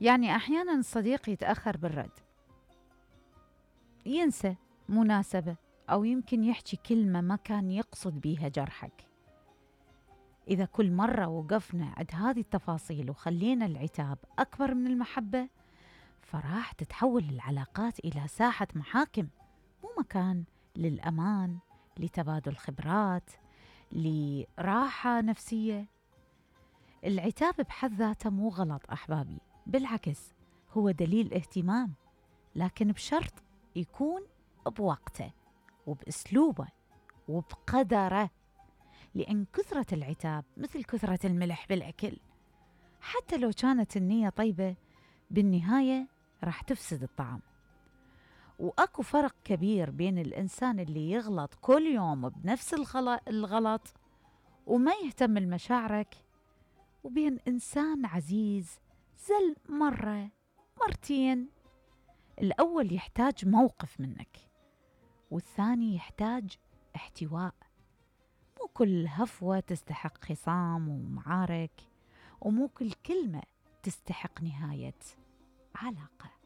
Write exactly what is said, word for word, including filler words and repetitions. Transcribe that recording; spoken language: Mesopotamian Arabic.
يعني أحياناً الصديق يتأخر بالرد، ينسى مناسبة، أو يمكن يحكي كلمة ما كان يقصد بيها جرحك. إذا كل مرة وقفنا عند هذه التفاصيل وخلينا العتاب أكبر من المحبة، فراح تتحول العلاقات إلى ساحة محاكم، مو مكان للأمان، لتبادل خبرات، لراحة نفسية. العتاب بحد ذاته مو غلط أحبابي، بالعكس هو دليل اهتمام، لكن بشرط يكون بوقته وبأسلوبه وبقدره، لأن كثرة العتاب مثل كثرة الملح بالأكل، حتى لو كانت النية طيبة بالنهاية راح تفسد الطعام. وأكو فرق كبير بين الإنسان اللي يغلط كل يوم بنفس الغلط وما يهتم لمشاعرك، وبين إنسان عزيز زل مرة مرتين. الأول يحتاج موقف منك، والثاني يحتاج احتواء. مو كل هفوة تستحق خصام ومعارك، ومو كل كلمة تستحق نهاية علاقة.